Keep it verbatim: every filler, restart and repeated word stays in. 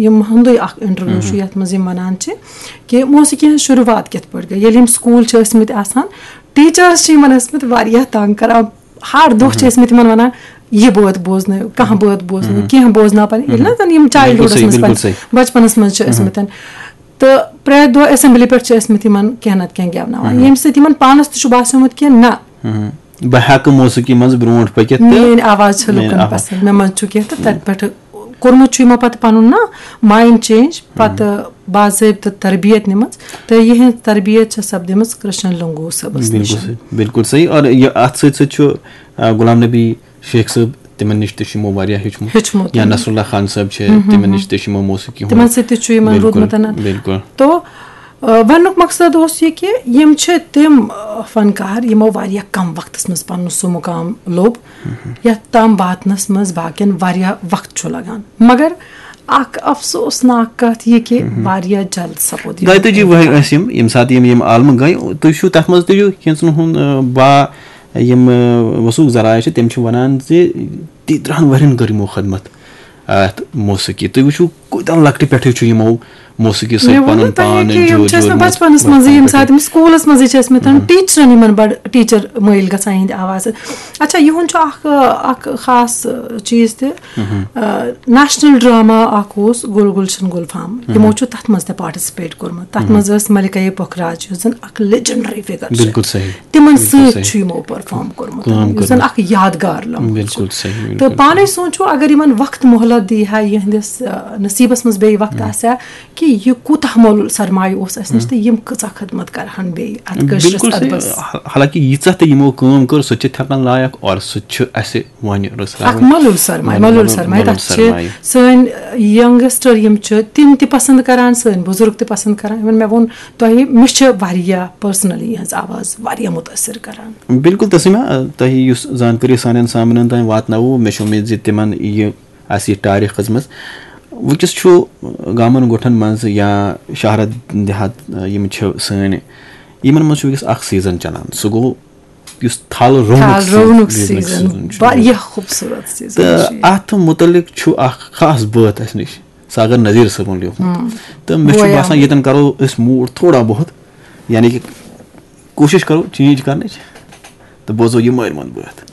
یِم ہُنٛدُے اکھ انٹرویو چھُ، یتھ منٛز یِم ونان چھِ کہِ موسیقی ہٕنٛز شروٗعات کِتھ پٲٹھۍ گٔے۔ ییٚلہِ یِم سکوٗل چھِ ٲسمٕتۍ آسان، ٹیٖچٲرٕس چھِ یِمن ٲسمٕتۍ واریاہ تنگ کران۔ ہر دۄہ چھِ ٲسمٕتۍ یِمن ونان، یہِ بٲتھ بوزنٲیِو، کانٛہہ بٲتھ بوزنٲیِو، کینٛہہ بوزناو پنٕنۍ، ییٚلہِ نہ زن یِم چایلڈہُڈس منٛز پنٕنۍ بچپنس منٛز چھِ ٲسمٕتۍ۔ تہٕ پرٛٮ۪تھ دۄہ اسمبلی پٮ۪ٹھ چھِ ٲسمٕتۍ یِمن کینٛہہ نتہٕ کینٛہہ گٮ۪وناوان، ییٚمہِ سۭتۍ یِمن پانس تہِ چھُ باسیومُت کہِ نہ، بہٕ ہٮ۪کہٕ موسیقی منٛز برونٛٹھ پٔکِتھ تہٕ میٲنۍ آواز چھِ لُکن پسند، مےٚ منٛز چھُ کینٛہہ۔ تہٕ تتہِ پٮ۪ٹھ کوٚرمُت چھُ یِمو پتہٕ پنُن نا ماینڈ چینج، پتہٕ باضٲبطہٕ تربیت نِمٕژ، تہٕ یِہنٛز تربیت چھےٚ سپدیمٕژ کرشن لنگو صٲبس نِش۔ بالکل صحیح، بالکل صحیح۔ اور یہِ اتھ سۭتۍ سۭتۍ چھُ آ، غلام نبی شیخ صٲب، تِمن نِش تہِ چھُ یِمو واریاہ ہیوٚچھمُت۔ ہیوٚچھمُت۔ یا نصراللہ خان صٲب چھِ، تِمن نِش تہِ چھُ یِمو موسیقی ہُنٛد۔ تِمن سۭتۍ تہِ چھُ یِمن بالکل، روٗدمُت۔ بالکل۔ تو آ، وننُک مقصد اوس یہِ کہِ یِم چھِ تِم آ، فنکار یِمو واریاہ کم وقتس منٛز پنُن سُہ مقام لوٚب یتھ تام واتنس منٛز باقین واریاہ وقت چھُ لگان، مگر اکھ افسوسناک کتھ یہِ کہِ واریاہ جلد سپُد یِہُنٛد دۄیہِ تٲجی ؤہرۍ ٲسۍ یِم، ییٚمہِ ساتہٕ یِم یِم عالمہٕ گٔے۔ تُہۍ چھِو تتھ منٛز، تُہۍ چھِو کینٛژن ہُنٛد آ، با یِم آ، وثوق ذرایع چھِ، تِم چھِ ونان زِ تیٖترٛہن ؤرین کٔر یِمو خدمت اتھ موسیقی۔ تُہۍ وٕچھِو کوٗتاہ لۄکٹہِ پٮ۪ٹھٕے چھُ یِمو موسیقی مےٚ سۭتۍ ووٚن پنُن نہٕ تۄہہِ پان کہِ یِم چھِ ٲسمٕتۍ جوٗڑمُت۔ بچپنس منٛزٕے، ییٚمہِ ساتہٕ یِم سکوٗلس منٛزٕے چھِ ٲسمٕتۍ، ٹیٖچرن یِمن بڑٕ ٹیٖچر مٲیِل گژھان یِہنٛدِ آوازٕ۔ اچھا، یِہُنٛد چھُ اکھ اکھ خاص چیٖز تہِ، نیشنل ڈراما اکھ اوس گُل گُلشن گُل فام، یِمو چھُ تتھ منٛز تہِ پارٹِسپیٹ کوٚرمُت۔ تتھ منٛز ٲس ملکہ پخراج، یُس زن اکھ لیجنڈری فگر چھِ۔ بالکل صحیح۔ تِمن بالکل سۭتۍ صحیح۔ چھُ یِمو پٔرفارم کوٚرمُت، کٲم یُس زن کٔرمٕژ۔ اکھ یادگار لمحہٕ چھُ۔ بالکل صحیح، تہٕ بالکل پانے سونچو، اگر یِمن وقت مۄہلت دی ہا، یِہنٛدِس آ، نصیبس منٛز بیٚیہِ وقت آسہِ ہا، کہِ یہِ کوٗتاہ مۄلُل سرمایہِ اوس اَسہِ نِش تہٕ یِم کۭژاہ خدمت کرہن بیٚیہِ اَتھ کٲشرِس بالکل صحیح۔ ادبس۔ حالانکہ ییٖژاہ تہِ یِمو کٲم کٔر، سۄ تہِ چھِ تھٮ۪کان لایق، اور سُہ تہِ چھُ اَسہِ وۄنۍ رٕژراوٕنۍ۔ اکھ مۄلُل سرمایہِ، مۄلُل، مۄلُل مۄلُل، سرمایہِ، مۄلُل تَتھ چھِ سرمایہِ۔ سٲنۍ ینگسٹر یِم چھِ، تِم تہِ پسند کران، سٲنۍ بُزرگ تہِ پسند کران۔ Even مےٚ ووٚن تۄہہِ، مےٚ چھِ واریاہ پرسنلی یِہنٛز آواز واریاہ مُتٲثر کران۔ بالکل تسلیمہ، آ، تۄہہِ یُس زانکٲری سانٮ۪ن سامعیٖنن تام واتنٲوو، مےٚ چھِ اُمید زِ تِمن یہِ آسہِ یہِ ٹارِکھ کھٔژمٕژ۔ وٕنکیٚس چھُ گامن گوٹھن منٛز یا شہرت دیہات، آ، یِم چھِ سٲنۍ، یِمن منٛز چھُ وٕنکیٚس اکھ سیزن چلان، سُہ گوٚو یُس تھل رُونُک تھل سیزن، رُونُک رُونُک سیزن، سیزن چھُ۔ واریاہ خوٗبصوٗرت سیزن تہٕ چھُ یہِ۔ اتھ مُتعلق چھُ اکھ خاص بٲتھ اسہِ نِش، ساگر نذیر صٲبُن لیوٗکھمُت۔ تہٕ مےٚ چھُ بوے باسان، آمُت۔ ییٚتٮ۪ن کرو أسۍ موٗڈ تھوڑا بہت، یعنی کہِ کوٗشِش کرو چینج کرنٕچ، تہٕ بوزو یہِ مٲرۍ منٛد بٲتھ۔